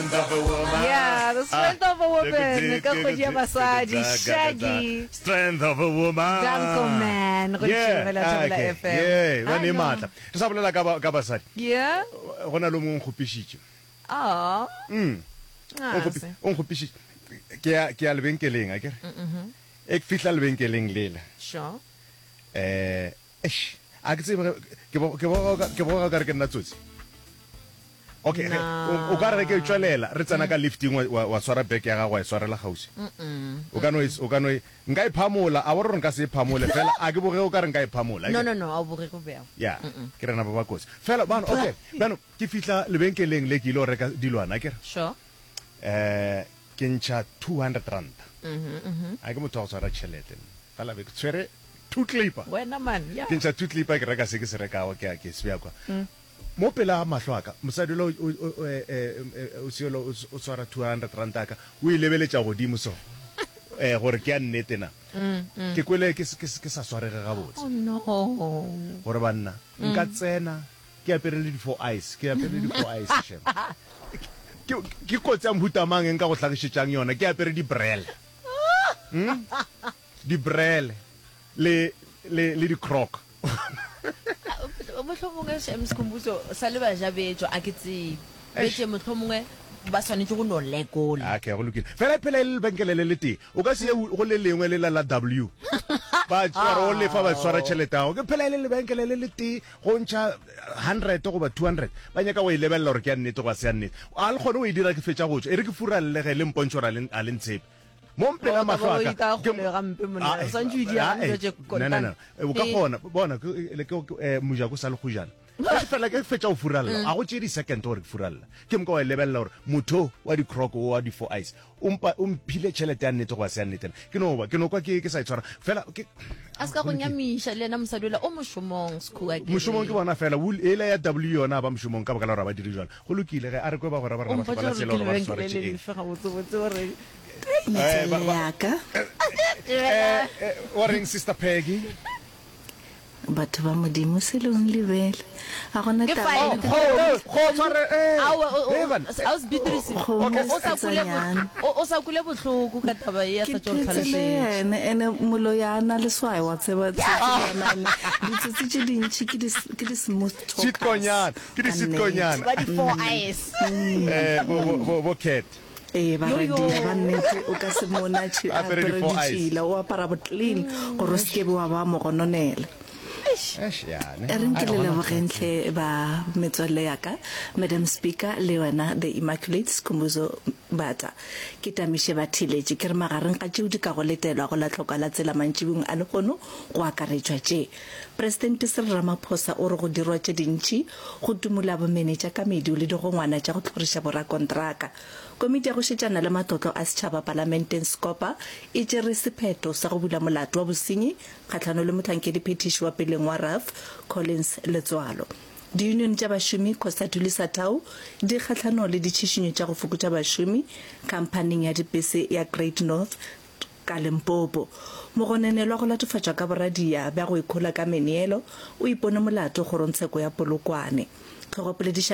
Strength of a woman. Yeah, the strength of a woman ka kgwedi ya basadi. Shaggy. Strength of a woman. Danko man go Yeah, Thobela Thobela okay. FM. Yeah, ba I ne know. maatla. Re sa bolela ka ba- ka basadi. Yeah. Go na le o mongwe o nkgopišitše. Oh. Mm. Ah, O nkgopi- se. O nkgopišitše. Ke ya ke ya lebenkeleng, a kere. E ke fihla lebenkeleng lela. Sure. Eh, eish, a ke tsebe ge ke bo ke boga ke boga ka re ke nna tsotsi. Okay, ge, o, o ka re ge ke tšwelela re tsena ka lifting wa, wa, wa swara bag ya gago wa e swarela kgauswi. O ka no e, o ka no e, nka e phamola, a bo re gore nka se e phamole fela a ke boge o ka re nka e phamola. No, no, no, a o boge go bjao. Ya, ke rena ba ba kotsi. Fela bano, okay, bano ke fihla lebenkeleng le ke ile go reka dilwana, akere? Sure. Eh, ke ntšha 200 ranta. A ke motho wa go tshwara tšhelete nna. Fela be ke tshwere two clipper. Wena man, ya. Ke ntšha two clipper ke reka se ke se rekago ke a ke se bea kwa. Mo pela ga mahlo a ka, mosadi yola o, o, o, eh, eh, eh, o se yola o, o swara 200 ranta ya ka, o e lebeletša godimo so, eh, gore ke ya nnete na. Ke kwele ke, ke, ke sa swarege gabotse. Oh no. Gore banna, nka tsena ke apere le di-four eyes, ke apere le di-four eyes, shem. Ke, ke kotsi ya mohuta mang e nka go hlagišetšang yona, ke apere di-brele. Hmm? Di-brele le, le, le di-croc. Mohlomongwe Shem Sikhumbuzo sa le ba ja betšo a ke tsebe. Betše mohlomongwe ba swanetše go no lekola. Okay, go lokile. Fela e phela e le lebenkele le letee. O ka se ye go le lengwe lela la W. Ba tšea re o lefa ba swara tšhelete ya gago. Ke phela e le lebenkele le letee go ntšha 100 goba 200. Ba nyaka go e lebelela gore ke ya nnete goba se ya nnete. A le kgone go e dira ke fetša go tšwa. E re ke furalle ge le mpontšhe gore a le ntshepe. Mo mpela mahlo a ka. Ke gampe monna. O swantše o di ya dilo tše No, no, no. O ka kgona. Bona, ke mojako sa le kgojana. Ke fela ke fetša go furalla. A go tšee di-second gore ke furalla. Ke moka wa e lebelela gore motho wa di-croc o wa di-four eyes o mpa o mphile tšhelete ya nnete goba se ya nnete na. Ke no ba ke no kwa ke ke sa itshwara fela ke A se ka go nyamiša le yena mosadi ola o mošomong Sekhuwa ke Mošomong ke bona fela wool ela ya W yona ba mošomong ka baka la gore ga ba dire jwalo. Go lokile ge a re kwe bagwera ba O rena ba mpotša hloka la gore tsela ke gore ba re lebenkele swaretše le eng. lefe gabotsebotse gore Eh, ba, Metswalle ba, ya ka. eh, eh, wa reng Sister Peggy? Batho ba Modimo, selong lebele. A gona Ke taba fine. e Go, go, tshware, eh, Aowa, o- o- eh, ban- Ausi Beatrice, Kgomo Okay. o sa kule bo- setsanyana. o o sa kule bohloko ka taba ye a Ke sa tšo re phetse le tlhalosetša. yena ene moloi a na leswayo wa tseba tsotsi ditsotsi tše dintši ke di ke di smooth talkers Sweet-konyana, ke di ka nnete. sweet-konyana. Ba di four eyes. Eh, bo, bo, bo, bo Cat. Ee, baradia ba nnete, o ka se mone a tšhi- a Apere apere di-four eyes. ditšhila, o apara bo clean gore o se ke be wa ba mogononela. Eish, ya, ne. E reng ke Ai, le gona lebogeng hle ba metswalle ya ka, Madam Speaker le wena The Immaculate Skhumbuzo Bata. Ke tamiše batheeletši ke re magareng ga tšeo di kago letelwa go la tlhokwa la tsela mantšibung a lehono go akaretšwa tše. Presidente Cyril Ramaphosa o re go dirwa tše dintši go tumola bomenetša ka medu le digongwana tša go hloriša borakontraka. Komiti ya go šetšana le matlotlo a setšhaba palamenteng Scopa e tšere sephetho sa go bula molato wa bosenyi kgahlano le mohlankedi-phethiši wa peleng wa RAF Collins Letsoalo. Diyunione tša bašomi Cosatu le Satau di kgahlano le ditšhišinyo tša go fokotša bašomi khamphaning ya dipese ya Great North Ka Limpopo, mogononelwa go latofatšwa ka boradia bja go ikhola ka meneelo o ipone molato kgorongtsheko ya Polokwane. Tlhogopoledišano.